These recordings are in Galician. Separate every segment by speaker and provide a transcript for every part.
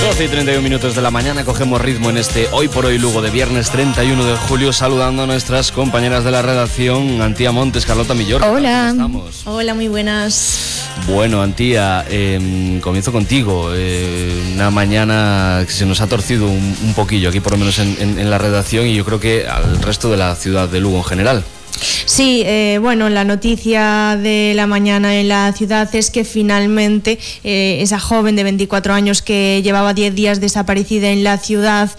Speaker 1: 12 y 31 minutos de la mañana, cogemos ritmo en este Hoy por Hoy Lugo de viernes 31 de julio, saludando a nuestras compañeras de la redacción, Antía Montes, Carlota Millor.
Speaker 2: Hola.
Speaker 1: ¿Cómo estamos?
Speaker 2: Hola, muy buenas.
Speaker 1: Bueno, Antía, comienzo contigo. Una mañana que se nos ha torcido un poquillo aquí, por lo menos en la redacción, y yo creo que al resto de la ciudad de Lugo en general.
Speaker 2: Sí, bueno, la noticia de la mañana en la ciudad es que finalmente esa joven de 24 años que llevaba 10 días desaparecida en la ciudad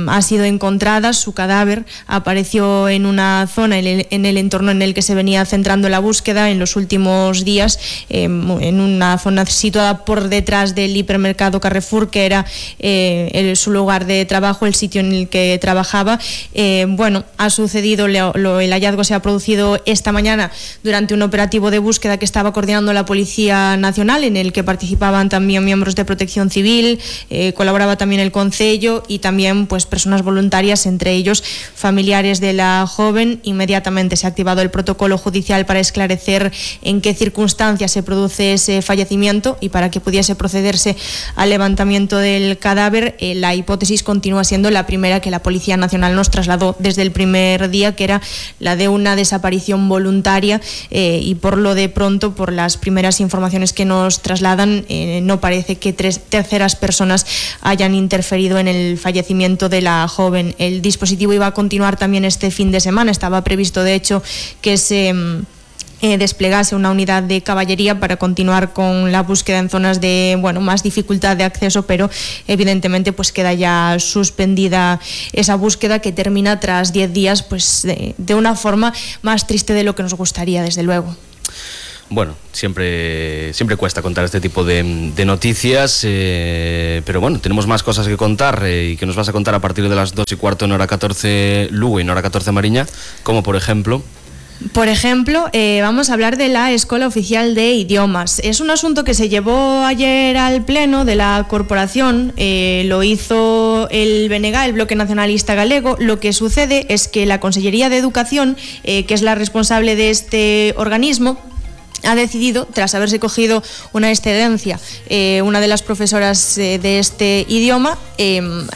Speaker 2: ha sido encontrada. Su cadáver apareció en una zona en el entorno en el que se venía centrando la búsqueda en los últimos días, en una zona situada por detrás del hipermercado Carrefour, que era su lugar de trabajo, el sitio en el que trabajaba. Bueno, ha sucedido, el hallazgo se ha producido esta mañana durante un operativo de búsqueda que estaba coordinando la Policía Nacional, en el que participaban también miembros de Protección Civil, colaboraba también el Concello y también pues personas voluntarias, entre ellos familiares de la joven. Inmediatamente se ha activado el protocolo judicial para esclarecer en qué circunstancias se produce ese fallecimiento y para que pudiese procederse al levantamiento del cadáver. La hipótesis continúa siendo la primera que la Policía Nacional nos trasladó desde el primer día, que era la de una desaparición voluntaria, y por lo de pronto, por las primeras informaciones que nos trasladan, no parece que terceras personas hayan interferido en el fallecimiento de la joven. El dispositivo iba a continuar también este fin de semana. Estaba previsto, de hecho, que se desplegase una unidad de caballería para continuar con la búsqueda en zonas de más dificultad de acceso, pero evidentemente pues queda ya suspendida esa búsqueda, que termina tras 10 días pues de una forma más triste de lo que nos gustaría, desde luego.
Speaker 1: Bueno, siempre cuesta contar este tipo de noticias, pero bueno, tenemos más cosas que contar y que nos vas a contar a partir de las 2:15 en hora 14 Lugo y en hora 14 Mariña, como por ejemplo...
Speaker 2: vamos a hablar de la Escola Oficial de Idiomas. Es un asunto que se llevó ayer al pleno de la corporación, lo hizo el BNG, el Bloque Nacionalista Galego. Lo que sucede es que la Consellería de Educación, que es la responsable de este organismo, ha decidido, tras haberse cogido una excedencia, una de las profesoras de este idioma,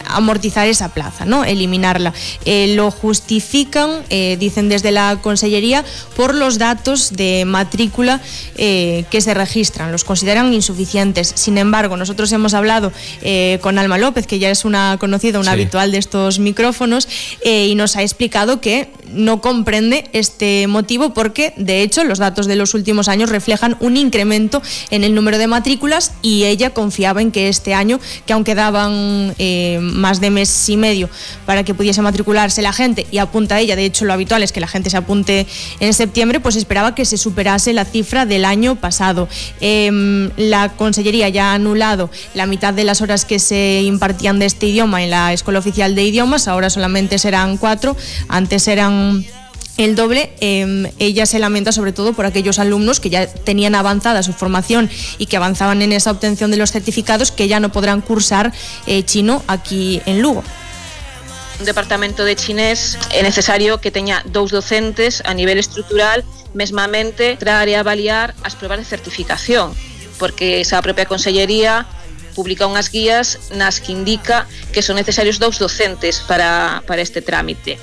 Speaker 2: amortizar esa plaza, ¿no? Eliminarla. Lo justifican, dicen desde la Consellería, por los datos de matrícula que se registran. Los consideran insuficientes. Sin embargo, nosotros hemos hablado con Alma López, que ya es una conocida, una habitual de estos micrófonos, y nos ha explicado que no comprende este motivo, porque de hecho los datos de los últimos años reflejan un incremento en el número de matrículas, y ella confiaba en que este año, que aún quedaban más de mes y medio para que pudiese matricularse la gente, y apunta ella, de hecho lo habitual es que la gente se apunte en septiembre, pues esperaba que se superase la cifra del año pasado. La Consellería ya ha anulado la mitad de las horas que se impartían de este idioma en la Escuela Oficial de Idiomas. Ahora solamente serán 4, antes eran el doble. Ella se lamenta sobre todo por aquellos alumnos que ya tenían avanzada su formación y que avanzaban en esa obtención de los certificados, que ya no podrán cursar chino aquí en Lugo.
Speaker 3: Un departamento de chinés é necesario que teña 2 docentes a nivel estrutural, mesmamente para avaliar as probas de certificación, porque esa propia Consellería publica unhas guías nas que indica que son necesarios 2 docentes para este trámite.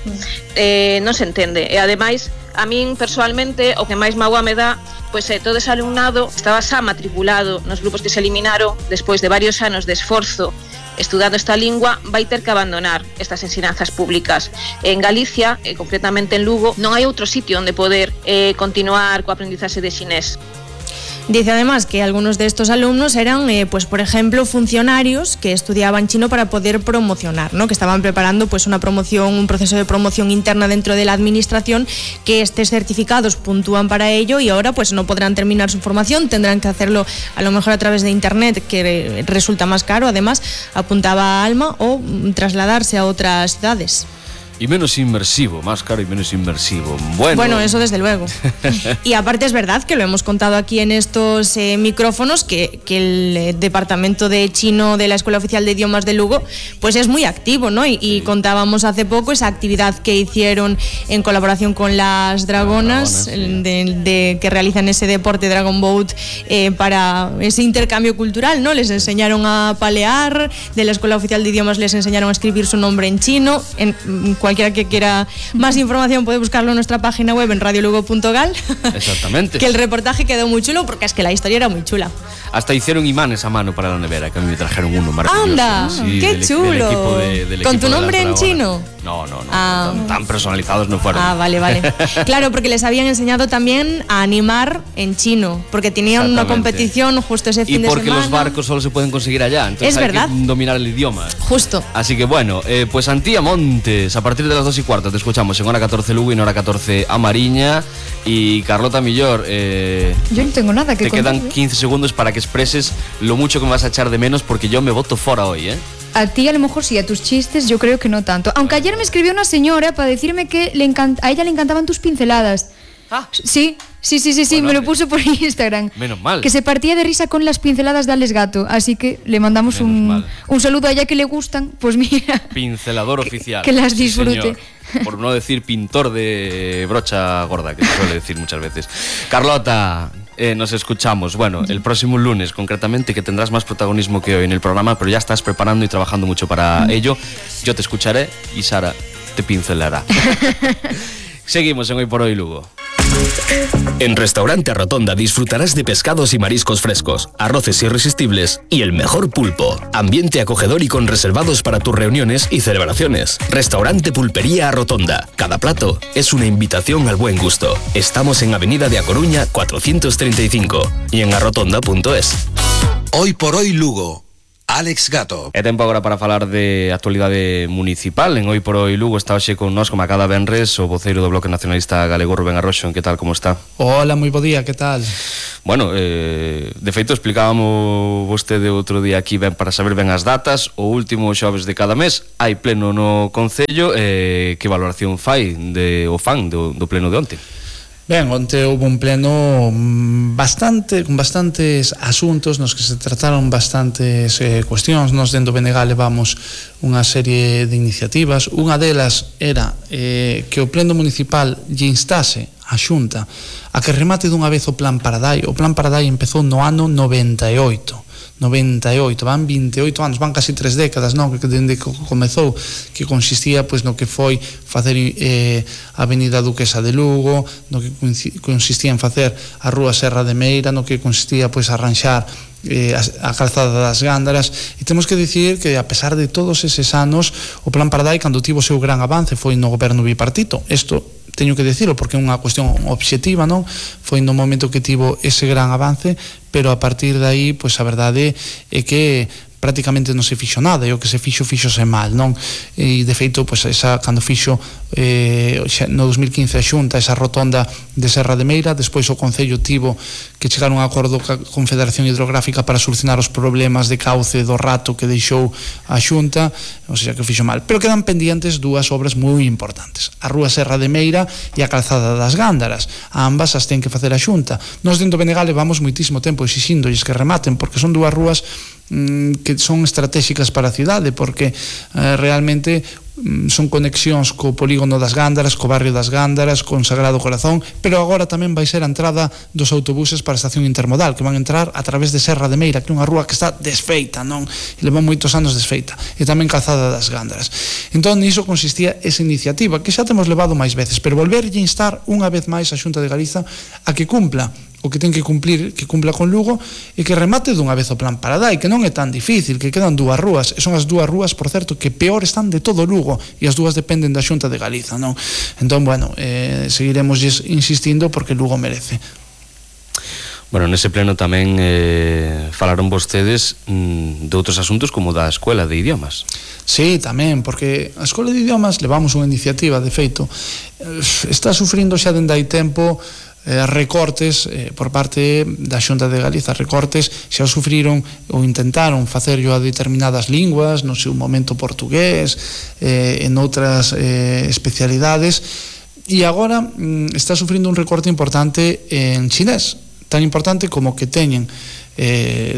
Speaker 3: Non se entende. E ademais, a min persoalmente o que máis mágoa me dá, pois todo ese alumnado estaba xa matriculado nos grupos que se eliminaron despois de varios anos de esforzo estudando esta lingua, vai ter que abandonar estas ensinanzas públicas. En Galicia, concretamente en Lugo, non hai outro sitio onde poder continuar co aprendizaxe de chinés.
Speaker 2: Dice además que algunos de estos alumnos eran, pues por ejemplo, funcionarios que estudiaban chino para poder promocionar, ¿no? Que estaban preparando pues una promoción, un proceso de promoción interna dentro de la administración, que estos certificados puntúan para ello, y ahora pues no podrán terminar su formación, tendrán que hacerlo a lo mejor a través de internet, que resulta más caro, además, apuntaba Alma, o trasladarse a otras ciudades.
Speaker 1: Y menos inmersivo, más caro y menos inmersivo. Bueno,
Speaker 2: eso desde luego. Y aparte es verdad que lo hemos contado aquí en estos micrófonos que el departamento de chino de la Escuela Oficial de Idiomas de Lugo pues es muy activo, ¿no? Y contábamos hace poco esa actividad que hicieron en colaboración con las Dragonas, que realizan ese deporte Dragon Boat para ese intercambio cultural, ¿no? Les enseñaron a palear, de la Escuela Oficial de Idiomas les enseñaron a escribir su nombre en chino. Cualquiera que quiera más información puede buscarlo en nuestra página web en radiolugo.gal.
Speaker 1: Exactamente.
Speaker 2: Que el reportaje quedó muy chulo porque es que la historia era muy chula.
Speaker 1: Hasta hicieron imanes a mano para la nevera, que a mí me trajeron uno maravilloso.
Speaker 2: ¡Anda!
Speaker 1: Sí,
Speaker 2: ¡Qué chulo! ¿Con tu nombre en chino?
Speaker 1: No. Tan personalizados no fueron.
Speaker 2: Vale. Claro, porque les habían enseñado también a animar en chino, porque tenían una competición justo ese fin de semana.
Speaker 1: Y porque los barcos solo se pueden conseguir allá, entonces hay que dominar el idioma.
Speaker 2: Justo.
Speaker 1: Así que bueno, pues Antía Montes, a partir de las 2:15 te escuchamos en hora 14 Lugo y en hora 14 a Mariña. Y Carlota Millor,
Speaker 4: yo no tengo nada que
Speaker 1: te
Speaker 4: contar.
Speaker 1: Quedan 15 segundos para que expreses lo mucho que me vas a echar de menos, porque yo me voto fuera hoy, ¿eh?
Speaker 4: A ti a lo mejor sí, a tus chistes yo creo que no tanto. Aunque ayer me escribió una señora para decirme que a ella le encantaban tus pinceladas. Sí, bueno, me lo puso por Instagram.
Speaker 1: Menos mal.
Speaker 4: Que se partía de risa con las pinceladas de Alex Gato. Así que le mandamos un saludo a ella que le gustan. Pues mira,
Speaker 1: pincelador oficial.
Speaker 4: Que las disfrute.
Speaker 1: Sí, por no decir pintor de brocha gorda, que se suele decir muchas veces. Carlota, nos escuchamos. Bueno, el próximo lunes concretamente, que tendrás más protagonismo que hoy en el programa, pero ya estás preparando y trabajando mucho para ello. Yo te escucharé y Sara te pincelará. Seguimos en Hoy por Hoy Lugo.
Speaker 5: En Restaurante Rotonda disfrutarás de pescados y mariscos frescos, arroces irresistibles y el mejor pulpo. Ambiente acogedor y con reservados para tus reuniones y celebraciones. Restaurante Pulpería Rotonda. Cada plato es una invitación al buen gusto. Estamos en Avenida de A Coruña 435 y en arrotonda.es.
Speaker 6: Hoy por Hoy Lugo. Alex Gato.
Speaker 1: É tempo agora para falar de actualidade municipal. En Hoy por Hoy Lugo está hoxe con nós, como a cada venres, o voceiro do Bloque Nacionalista Galego, Rubén Arroxo. Que tal, como está?
Speaker 7: Hola, moi bo día, que tal?
Speaker 1: Bueno, de feito explicábamos vostede outro día aquí para saber ben as datas. O último xoves de cada mes hai pleno no Concello. Que valoración fai o fan do pleno de onte?
Speaker 7: Ben, onte houve un pleno con bastantes asuntos nos que se trataron bastantes cuestións. Nos dentro do BNG levamos unha serie de iniciativas. Unha delas era que o pleno municipal lle instase a Xunta a que remate dunha vez o Plan Paradai. O Plan Paradai empezou no ano 98, van 28 anos, van casi 3 décadas, non? Que dende que comezou, que consistía pois no que foi facer a Avenida Duquesa de Lugo, no que consistía en facer a Rúa Serra de Meira, no que consistía pois arranxar a calzada das Gándaras. E temos que dicir que a pesar de todos eses anos, o Plan Paradai, cando tivo o seu gran avance, foi no goberno bipartito. Isto teño que dicirlo porque é unha cuestión obxectiva, non? Foi no momento que tivo ese gran avance, pero a partir de aí, pois a verdade é que prácticamente non se fixo nada, e o que se fixose mal, non? E de feito, pois cando fixo no 2015 a Xunta esa rotonda de Serra de Meira, despois o Concello tivo que chegar a un acordo ca Confederación Hidrográfica para solucionar os problemas de cauce do rato que deixou a Xunta, ou seja, que fixo mal. Pero quedan pendientes dúas obras moi importantes: a Rúa Serra de Meira e a calzada das Gándaras. Ambas as ten que facer a Xunta. Nos dentro do BNG levamos moitísimo tempo exixíndolles que rematen, porque son dúas rúas que son estratégicas para a cidade, porque realmente son conexións co polígono das Gándaras, co barrio das Gándaras, con Sagrado Corazón, pero agora tamén vai ser a entrada dos autobuses para a estación intermodal, que van entrar a través de Serra de Meira, que é unha rúa que está desfeita, non? E leva moitos anos desfeita, e tamén calzada das Gándaras. Entón, niso consistía esa iniciativa, que xa temos levado máis veces, pero volverlle instar unha vez máis a Xunta de Galiza a que cumpla o que ten que cumplir, que cumpla con Lugo, e que remate dunha vez o Plan Paradai, que non é tan difícil, que quedan dúas rúas, e son as dúas rúas, por certo, que peor están de todo Lugo, e as dúas dependen da Xunta de Galiza, non? Entón, bueno, seguiremos insistindo porque Lugo merece.
Speaker 1: Bueno, nese pleno tamén falaron vostedes de outros asuntos como da Escuela de Idiomas.
Speaker 7: Sí, tamén, porque a Escola de Idiomas levamos unha iniciativa, de feito, está sufrindo xa dende hai tempo recortes por parte da Xunta de Galiza, recortes xa sufriron ou intentaron facerlo a determinadas linguas, no seu momento portugués, en outras especialidades, e agora está sufrindo un recorte importante en chinés, tan importante como que teñen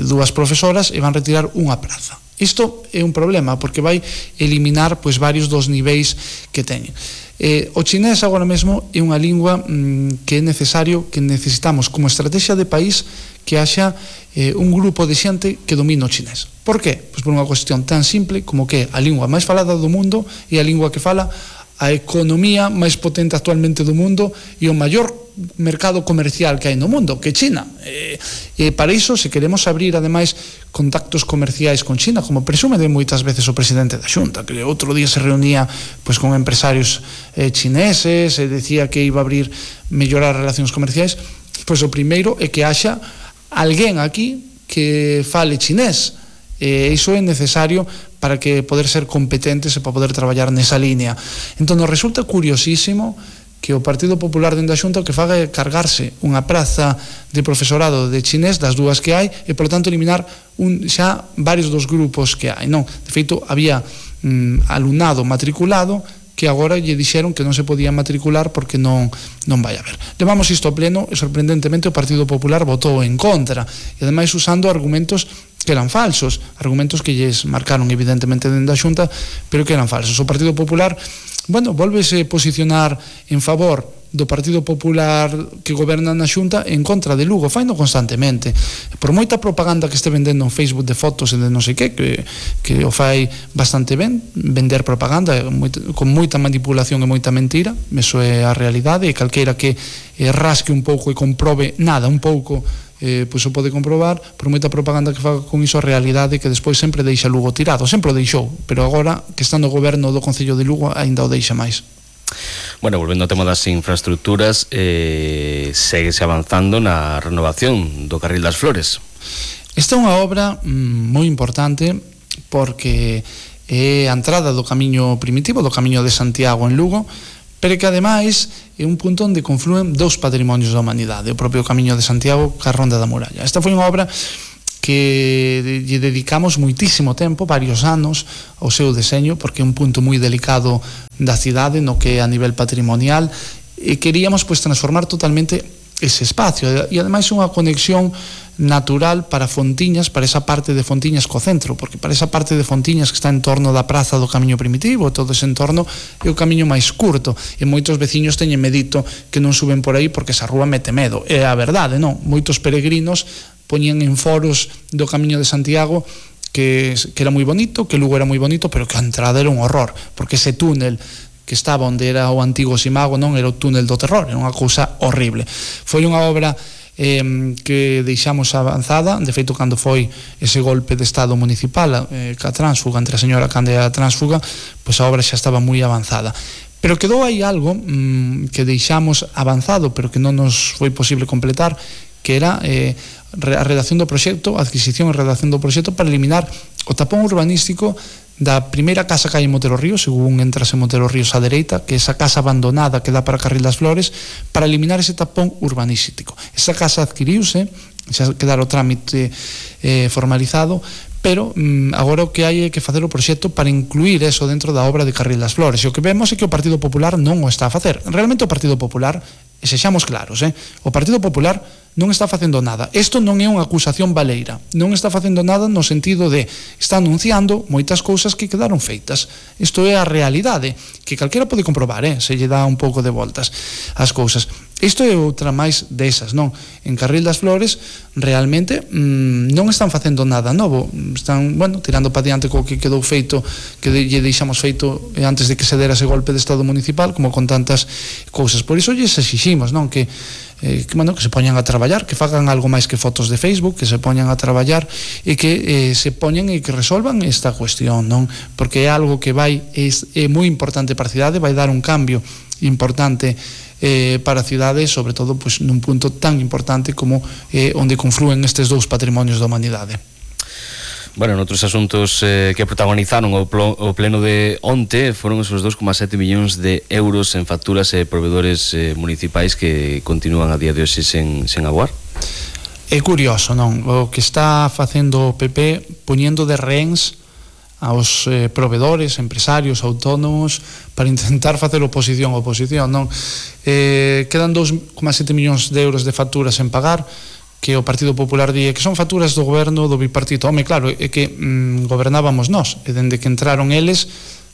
Speaker 7: dúas profesoras e van retirar unha praza. Isto é un problema porque vai eliminar pois varios dos niveis que teñen. O chinés agora mesmo é unha lingua que é necesario, que necesitamos como estrategia de país que haxa un grupo de xente que domine o chinés. Por qué? Pois por unha cuestión tan simple como que a lingua máis falada do mundo e a lingua que fala a economía máis potente actualmente do mundo e o maior mercado comercial que hai no mundo, que é China. E para iso, se queremos abrir ademais contactos comerciais con China, como presume de moitas veces o presidente da Xunta, que outro día se reunía pois con empresarios chineses e decía que iba a abrir, mellorar relacións comerciais, pois o primeiro é que haxa alguén aquí que fale chinés. Iso é necesario para que poder ser competentes e para poder traballar nesa línea. Entón, nos resulta curiosísimo que o Partido Popular dentro da Xunta o que faga é cargarse unha praza de profesorado de chinés das dúas que hai e, por tanto, eliminar xa varios dos grupos que hai. Non, de feito, había alumnado matriculado que agora lle dixeron que non se podía matricular porque non vai haber. Levamos isto ao pleno e, sorprendentemente, o Partido Popular votou en contra e, ademais, usando argumentos que eran falsos, argumentos que lles marcaron evidentemente dentro da Xunta, pero que eran falsos. O Partido Popular, volvese posicionar en favor do Partido Popular que goberna na Xunta en contra de Lugo, faino constantemente. Por moita propaganda que este vendendo en Facebook de fotos e de non sei que o fai bastante ben, vender propaganda con moita manipulación e moita mentira, eso é a realidade, e calqueira que rasque un pouco e comprobe nada, un pouco, pois o pode comprobar. Por moita propaganda que faga con iso, a realidade que despois sempre deixa Lugo tirado, sempre o deixou, pero agora que está no goberno do Concello de Lugo aínda o deixa máis.
Speaker 1: Bueno, volvendo ao tema das infraestructuras, séguese avanzando na renovación do Carril das Flores.
Speaker 7: Esta é unha obra moi importante porque é a entrada do camiño primitivo, do camiño de Santiago en Lugo, pero que ademais é un punto onde confluen dous patrimonios da humanidade, o propio camiño de Santiago ca Ronda da Muralla. Esta foi unha obra que lle dedicamos moitísimo tempo, varios anos, ao seu deseño, porque é un punto moi delicado da cidade, no que é a nivel patrimonial, e queríamos pois transformar totalmente ese espacio, e ademais unha conexión natural para Fontiñas, para esa parte de Fontiñas co centro, porque para esa parte de Fontiñas que está en torno da praza do camiño primitivo, todo ese entorno é o camiño máis curto, e moitos veciños teñen medito que non suben por aí porque esa rúa mete medo. É a verdade, non? Moitos peregrinos poñían en foros do camiño de Santiago que era moi bonito, que Lugo era moi bonito, pero que a entrada era un horror, porque ese túnel que estaba onde era o antigo Simago, non era o túnel do terror, era unha cousa horrible. Foi unha obra que deixamos avanzada, de feito, cando foi ese golpe de estado municipal ca tránsfuga, entre a señora Cande e a tránsfuga, pois a obra xa estaba moi avanzada. Pero quedou aí algo que deixamos avanzado, pero que non nos foi posible completar, que era a redacción do proxecto, a adquisición e redacción do proxecto para eliminar o tapón urbanístico da primeira casa que hai en Motero Ríos, según entras en Motero Ríos á dereita, que é esa casa abandonada que dá para Carril das Flores, para eliminar ese tapón urbanístico. Esa casa adquiriuse, xa quedara o trámite formalizado, pero agora o que hai é que facer o proxecto para incluir eso dentro da obra de Carril das Flores. E o que vemos é que o Partido Popular non o está a facer. Realmente o Partido Popular, e sexamos claros, o Partido Popular non está facendo nada. Isto non é unha acusación baleira, non está facendo nada no sentido de está anunciando moitas cousas que quedaron feitas. Isto é a realidade, que calquera pode comprobar, se lle dá un pouco de voltas ás cousas. Isto é outra máis desas, non? En Carril das Flores realmente non están facendo nada novo, están, tirando para diante co que quedou feito, que lle deixamos feito antes de que se dera ese golpe de estado municipal, como con tantas cousas. Por iso lles exiximos, non? Que se poñan a traballar, que fagan algo máis que fotos de Facebook, que se poñan a traballar e que se poñan e que resolvan esta cuestión, non? Porque é algo que é moi importante para a cidade, vai dar un cambio importante para a cidade, sobre todo pois, nun punto tan importante como onde confluen estes dous patrimonios da humanidade.
Speaker 1: Bueno, noutros asuntos que protagonizaron o pleno de onte foron esos 2,7 millóns de euros en facturas e proveedores municipais que continúan a día de hoxe sen aguar.
Speaker 7: É curioso, non? O que está facendo o PP poñendo de rehéns aos proveedores, empresarios, autónomos para intentar facer oposición, non? Quedan 2,7 millóns de euros de facturas en pagar, que o Partido Popular di que son facturas do goberno do bipartito. Home, claro, é que gobernábamos nós, e dende que entraron eles,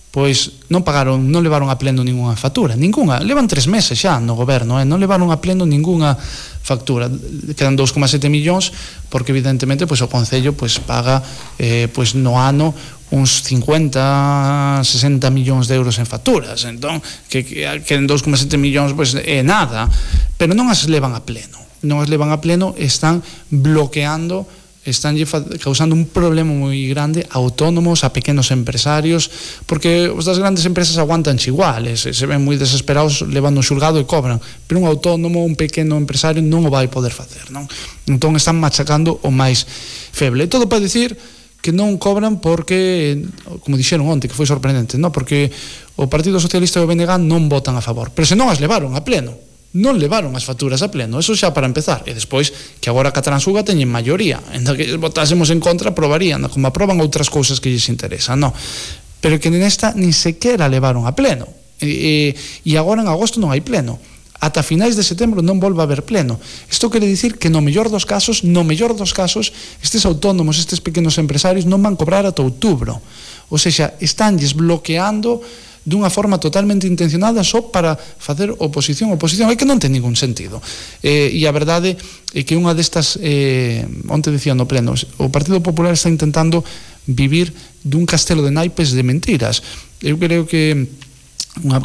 Speaker 7: pois non pagaron, non levaron a pleno ningunha factura, ninguna. Levan 3 meses xa no goberno, non levaron a pleno ningunha factura. Quedan 2,7 millóns porque evidentemente pois o Concello pois paga pois no ano uns 50, 60 millóns de euros en facturas. Entón, que queden 2,7 millóns pois é nada, pero non as levan a pleno. Non as levan a pleno, están bloqueando, están causando un problema moi grande a autónomos, a pequenos empresarios, porque os das grandes empresas aguantan iguales, se ven moi desesperados, levan no xulgado e cobran, pero un autónomo, un pequeno empresario non o vai poder facer, non? Entón están machacando o máis feble. E todo para dicir que non cobran porque, como dixeron onte, que foi sorprendente, non? Porque o Partido Socialista e o BNG non votan a favor, pero se non as levaron a pleno, non levaron as facturas a pleno, eso xa para empezar, e despois que agora que a Transuga teñen maioría, en que votásemos en contra aprobarían, como aproban outras cousas que lles interesan, non? Pero que nesta nin sequera levaron a pleno, e agora en agosto non hai pleno, ata finais de setembro non volve a haber pleno. Isto quere dicir que no mellor dos casos, estes autónomos, estes pequenos empresarios non van cobrar ata outubro, ou seja, estánlles bloqueando dunha forma totalmente intencionada só para facer oposición é que non ten ningún sentido, e a verdade é que unha destas onte dicía no pleno, o Partido Popular está intentando vivir dun castelo de naipes de mentiras. Eu creo que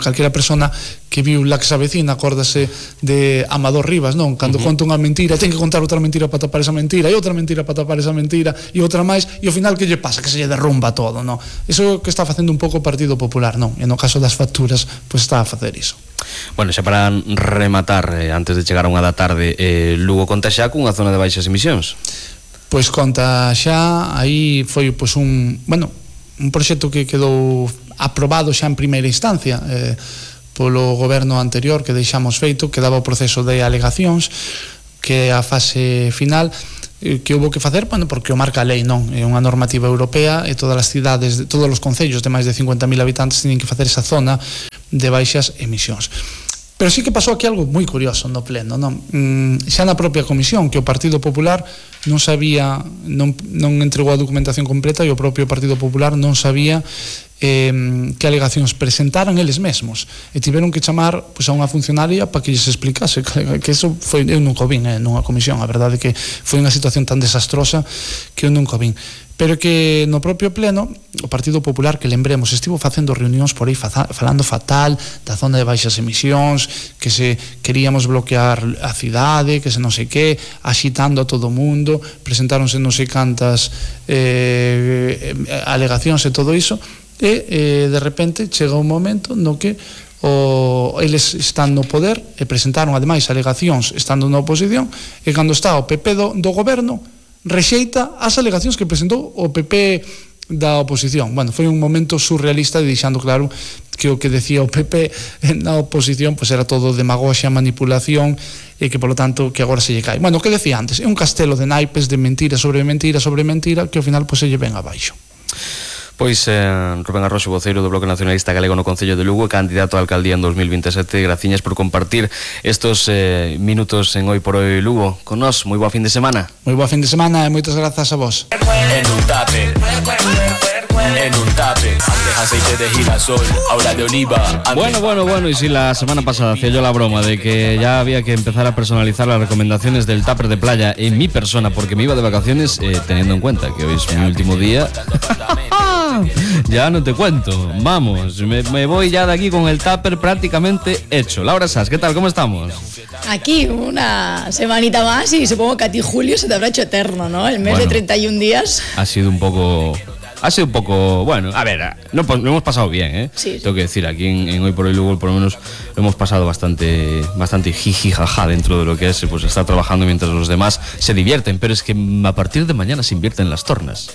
Speaker 7: calquera persona que viu La que se avecina acórdase de Amador Rivas, non? Cando conta unha mentira, ten que contar outra mentira para tapar esa mentira, e outra mentira para tapar esa mentira, e outra máis, e ao final que lle pasa? Que se lle derrumba todo, non? Iso é o que está facendo un pouco o Partido Popular, non? E no caso das facturas, pois está a facer iso.
Speaker 1: Bueno, xa para rematar, antes de chegar a unha da tarde, Lugo conta xa cunha zona de baixas emisións?
Speaker 7: Pois conta xa, aí foi pois un proxecto que quedou aprobado xa en primeira instancia polo goberno anterior, que deixamos feito, que daba o proceso de alegacións, que é a fase final, que houve que facer, porque o marca a lei, non? É unha normativa europea e todas as cidades, todos os concellos de máis de 50.000 habitantes teñen que facer esa zona de baixas emisións. Pero sí que pasou aquí algo moi curioso no pleno, non? Xa na propia comisión, que o Partido Popular non sabía, non entregou a documentación completa, e o propio Partido Popular non sabía que alegacións presentaran eles mesmos, e tiveron que chamar pois a unha funcionaria para que lles explicase, que eso foi, eu nunca o vin nunha comisión, a verdade é que foi unha situación tan desastrosa que eu nunca o vin, pero que no propio pleno o Partido Popular, que lembremos, estivo facendo reunións por aí falando fatal da zona de baixas emisións, que se queríamos bloquear a cidade, que se non sei que, axitando a todo o mundo, presentáronse non sei cantas alegacións e todo iso, e de repente chega un momento no que eles están no poder e presentaron ademais alegacións estando na oposición, e cando está o PP do goberno rexeita as alegacións que presentou o PP da oposición. Bueno, foi un momento surrealista, deixando claro que o que decía o PP na oposición pois era todo demagoxia, manipulación, e que polo tanto que agora se lle cae. Bueno, o que decía antes, é un castelo de naipes de mentira sobre mentira sobre mentira, que ao final pois se lle ven abaixo.
Speaker 1: Pois Rubén Arroxo, voceiro do Bloque Nacionalista Galego no Concello de Lugo, candidato a alcaldía en 2027. Graciñas por compartir estos minutos en Hoy por Hoy Lugo con nós. Moi boa fin de semana.
Speaker 7: Moi boa fin de semana e moitas grazas a vos.
Speaker 5: En un tape, aceite de girasol, ahora de oliva.
Speaker 1: Bueno, y si la semana pasada hacía yo la broma de que ya había que empezar a personalizar las recomendaciones del tupper de playa en mi persona porque me iba de vacaciones, teniendo en cuenta que hoy es mi último día. Ya no te cuento, vamos, me voy ya de aquí con el tupper prácticamente hecho. Laura Sass, ¿qué tal? ¿Cómo estamos?
Speaker 8: Aquí una semanita más y supongo que a ti julio se te habrá hecho eterno, ¿no? El mes de 31 días.
Speaker 1: Ha sido un poco, bueno, a ver, lo hemos pasado bien, ¿eh?
Speaker 8: Sí.
Speaker 1: Tengo que decir, aquí en Hoy por Hoy Lugo por lo menos lo hemos pasado bastante jiji jaja dentro de lo que es, pues estar trabajando mientras los demás se divierten, pero es que a partir de mañana se invierten las tornas.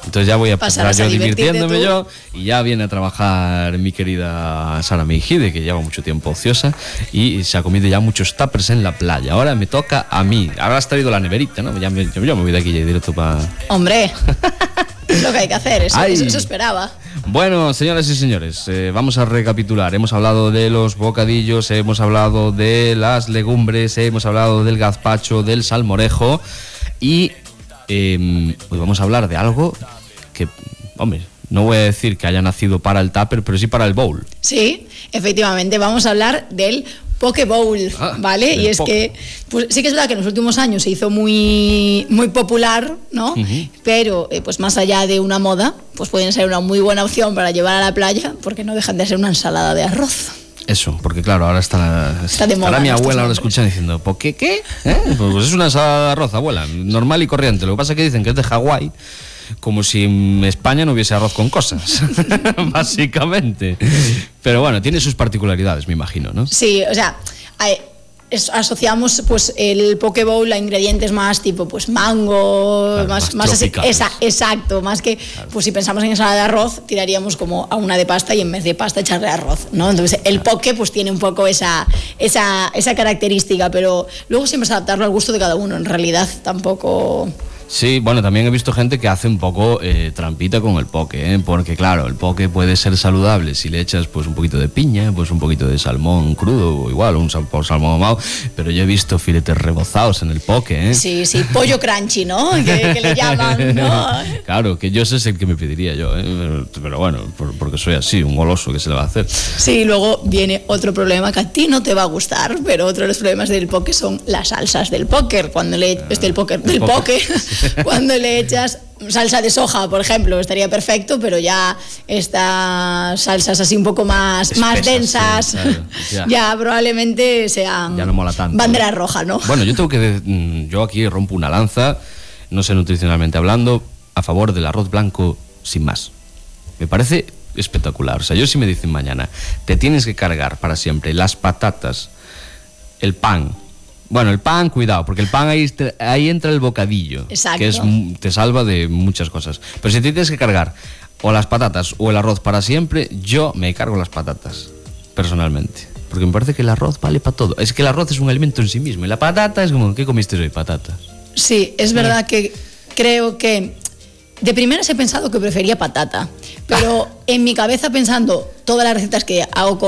Speaker 1: Entonces ya voy a pasar
Speaker 8: Pasarás
Speaker 1: yo
Speaker 8: a divertirte
Speaker 1: divirtiéndome
Speaker 8: tú.
Speaker 1: yo, y ya viene a trabajar mi querida Sara Meijide, que lleva mucho tiempo ociosa y se ha comido ya muchos tuppers en la playa. Ahora me toca a mí. Ahora has traído la neverita, ¿no? Yo me voy de aquí ya directo para...
Speaker 8: Hombre, es lo que hay que hacer, eso
Speaker 1: Ay.
Speaker 8: esperaba.
Speaker 1: Bueno, señoras y señores, vamos a recapitular. Hemos hablado de los bocadillos, hemos hablado de las legumbres, hemos hablado del gazpacho, del salmorejo y hoy vamos a hablar de algo que, hombre, no voy a decir que haya nacido para el tupper, pero sí para el bowl.
Speaker 8: Sí, efectivamente, vamos a hablar del Poke Bowl, ¿vale? Y es que, pues sí que es verdad que en los últimos años se hizo muy, muy popular, ¿no? Pero, pues más allá de una moda, pues pueden ser una muy buena opción para llevar a la playa, porque no dejan de ser una ensalada de arroz.
Speaker 1: Eso, porque claro, ahora estará
Speaker 8: de moda
Speaker 1: mi
Speaker 8: estos
Speaker 1: abuela ahora
Speaker 8: nombres.
Speaker 1: escuchando diciendo, ¿por qué? ¿Qué? Pues es una ensalada de arroz, abuela, normal y corriente. Lo que pasa es que dicen que es de Hawái, como si en España no hubiese arroz con cosas, básicamente. Pero bueno, tiene sus particularidades, me imagino, ¿no?
Speaker 8: Sí, o sea, asociamos pues el Poke Bowl a ingredientes más tipo pues mango,
Speaker 1: Claro,
Speaker 8: más así,
Speaker 1: tropicales.
Speaker 8: exacto, más que pues si pensamos en ensalada de arroz tiraríamos como a una de pasta y en vez de pasta echarle arroz, ¿no? Entonces el poke pues tiene un poco esa característica, pero luego siempre es adaptarlo al gusto de cada uno, en realidad tampoco...
Speaker 1: Sí, bueno, también he visto gente que hace un poco trampita con el poke, porque claro, el poke puede ser saludable si le echas pues un poquito de piña, pues un poquito de salmón crudo o igual, un salmón ahumado, pero yo he visto filetes rebozados en el poke,
Speaker 8: Sí, pollo crunchy, ¿no? Que le llaman, ¿no?
Speaker 1: Claro, que yo ese es el que me pediría yo, pero bueno, porque soy así, un goloso, que se le va a hacer.
Speaker 8: Sí, luego viene otro problema que a ti no te va a gustar, pero otro de los problemas del poke son las salsas del póker, cuando cuando le echas salsa de soja, por ejemplo, estaría perfecto, pero ya estas salsas así un poco más densas,
Speaker 1: sí, claro,
Speaker 8: ya probablemente sean
Speaker 1: ya no mola tanto,
Speaker 8: bandera roja, ¿no?
Speaker 1: Bueno, yo aquí rompo una lanza, no sé nutricionalmente hablando, a favor del arroz blanco sin más. Me parece espectacular. O sea, yo si me dicen mañana, te tienes que cargar para siempre las patatas, el pan. Bueno, el pan, cuidado, porque el pan ahí entra el bocadillo,
Speaker 8: Exacto.
Speaker 1: que te salva de muchas cosas. Pero si te tienes que cargar o las patatas o el arroz para siempre, yo me cargo las patatas, personalmente. Porque me parece que el arroz vale para todo. Es que el arroz es un alimento en sí mismo y la patata es como, ¿qué comiste hoy? Patatas.
Speaker 8: Sí, es verdad que creo que de primeras he pensado que prefería patata, pero en mi cabeza pensando todas las recetas que hago con